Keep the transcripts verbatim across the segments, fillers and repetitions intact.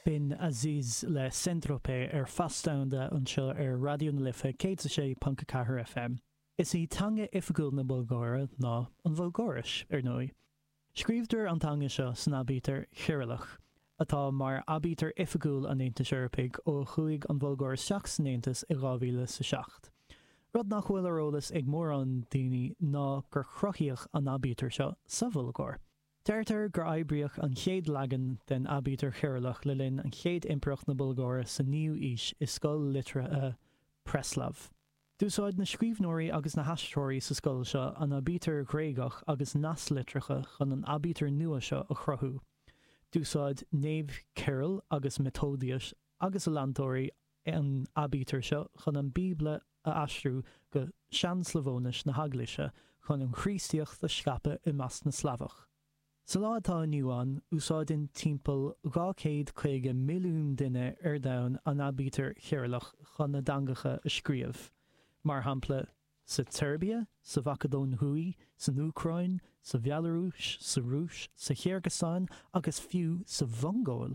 B'in Aziz le Saint-Tropez ar Phas Domhanda anseo ar Raidió na Life céad a sé ponc a ceathair FM. Is í teanga oifigiúil na Bulgáire ná an Bhulgáiris, ar ndóigh. Scríobhtar an teanga seo san aibítir Chireallach, atá mar aibítir oifigiúil an Aontais Eorpaigh ó chuaigh an Bhulgáir isteach san Aontas i dhá mhíle is a seacht. Rud nach bhfuil ar eolas ag mórán daoine ná gur cruthaíodh an aibítir seo sa Bhulgáir. Deirtear gur oibríodh an chéad leagan den aibítir Chireallach le linn an chéad impireacht na Bulgáire sa naoú aois i scoil liteartha Preslav. D'úsáid na scríbhneoirí agus na haistritheoirí sa scoil seo an aibítir Ghréagach agus naslitreacha chun an aibítir nua seo a chruthú. D'úsáid Naomh Cyril agus Methodius agus a leantóirí an aibítir seo chun an Bíobla a aistriú go Sean-Slavóinis na hEaglaise chun an Chríostaíocht a scaipeadh i measc na Slavach. Sa lá atá inniu ann, úsáideann timpeall dhá chéad caoga milliún duine ar domhan an aibítir Chireallach chun a dteangacha a scríobh, mar shampla sa tSeirbia, sa Mhacadóin Thuaidh, san Úcráin, sa Bhealarúis, sa Rúis, sa Chirgeastáin agus fiú sa Mhongóil.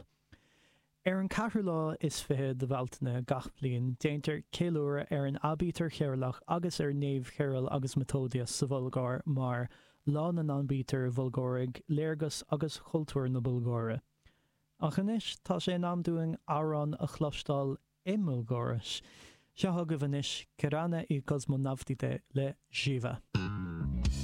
Ar an ceathrú lá is fiche de Bhealtaine gach bliain, déantar ceiliúradh ar an aibítir Chireallach agus ar Naomh Cyril agus Methodius sa Bhulgáir mar Lá na nAibítir Bhulgáirigh, Léargas agus Chultúr na Bulgáire. Ach anois, tá sé in am dúinn amhrán a chloisteáil i mBulgáiris. Seo chugaibh anois Kirana i Kosmonavtite le Živa.